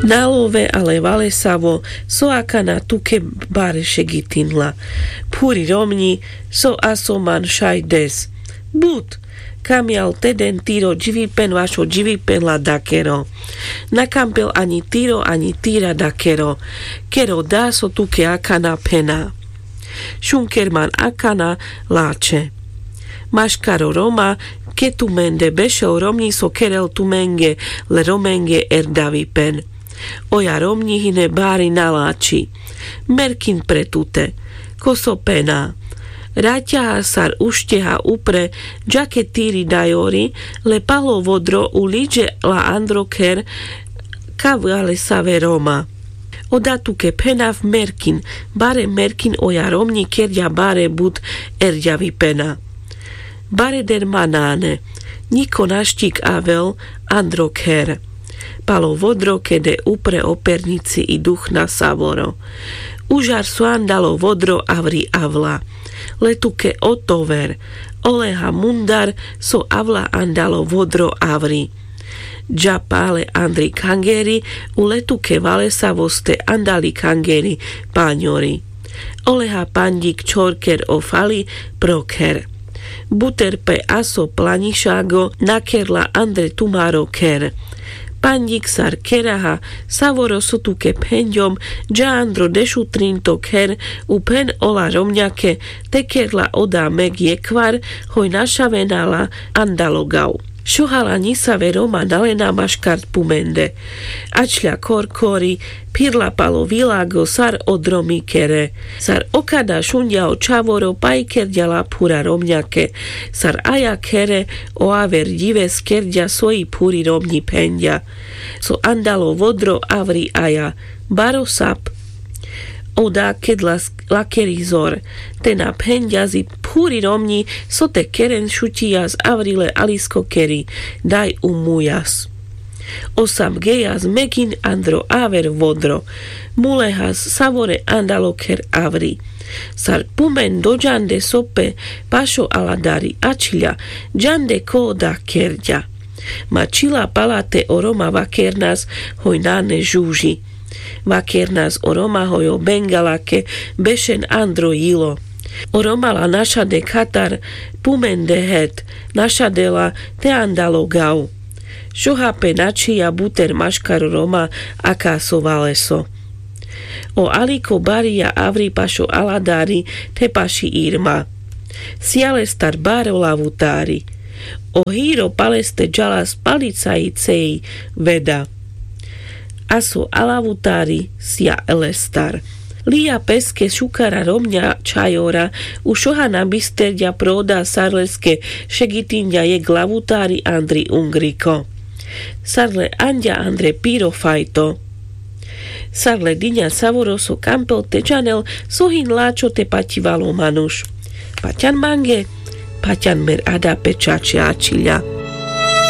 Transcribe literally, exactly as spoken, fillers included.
Na love ale valesavo so akana tuke bare šegitinla. Phuri romňi so aso man šaj des. But, kamial teden tiro dživipen vašo dživipen la dakero. Na kampel aňi tiro aňi tira dakero, kero da so tuke akana phena. Šunker man akana lačhe. Maškaro roma, ke tumende bešel romňi so kerel tumenge le romenge erdavipen. Oja romňi hine bari na lači. Merkin pre tute. Ko so pena. Raťaha sar ušteha upre, džake tiri dajori, le palo vodro u liďe la andro kher. Ka valesave roma. Oda tuke phenav merkin. Bare merkin oja romňi kerďa bare but erďavipena. Bare dermanane. Ňiko naštik avel andro kher. Palo vodro kede upre o perňici i duchna savoro. Užar so andalo vodro avri avla. Le tuke otover. Oleha mundar so avla andalo vodro avri. Dža pale andri kangeri. U le tuke valesavo ste andali kangeri. Paňori. Oleha panďik čhorker o fali pro kher. Buter pe aso plaňišago nakerla andre tumaro kher. Panďik sar keraha, savoro so tuke phenďom, dža andro dešutrinto kher. U phen ola romňake. Te kerla oda meg jekhvar. Hoj našavenala andalo gav. Šohala ňisave roma nalena maškar pumende. Ačľa korkori. Phirla palo vilago sar odromi kere. Sar okada šunďa o čhavoro paj kerďa la phura romňake. Sar aja khere o aver ďives kerďa soji phuri romňi phenďa. So andalo vodro avri aja. Baro sap. Oda ked la lakeri zor. Te na phenďa zi phuri romňi so te keren šuťijas avri le alisko keri. Daj u mujas. Osam gejas megin andro aver vodro. Mulehas savore andalo kher avri. Sar pumen doďande so pe pašo aladari ačľa. Ďande ko oda kerďa. Ma čila pala te o roma vakernas hoj nane žuži. Vakernas o roma hoj o bengalake bešen andro jilo. O roma la našade khatar pumende het. Našade la te andalo gav. Šoha pe načhija buter maškaro roma aka so valeso. O aliko barija avri pašo aladari te paši irma. Sija lestar baro lavutari. O hiro paleste džalas palicaji ceji veda. Aso alavutari sija lestar. Lija peske šukara romňa čhajora. U šoha na bisterďa pro oda sar leske šegitinďa jek lavutari andri ungriko. Sar le anďa andre piro fajto. Sar le diňa savoro so kampel te džanel so hin lačho te paťivalo manuš. Paťan mange. Paťan mer ada pe čače ačhiľa.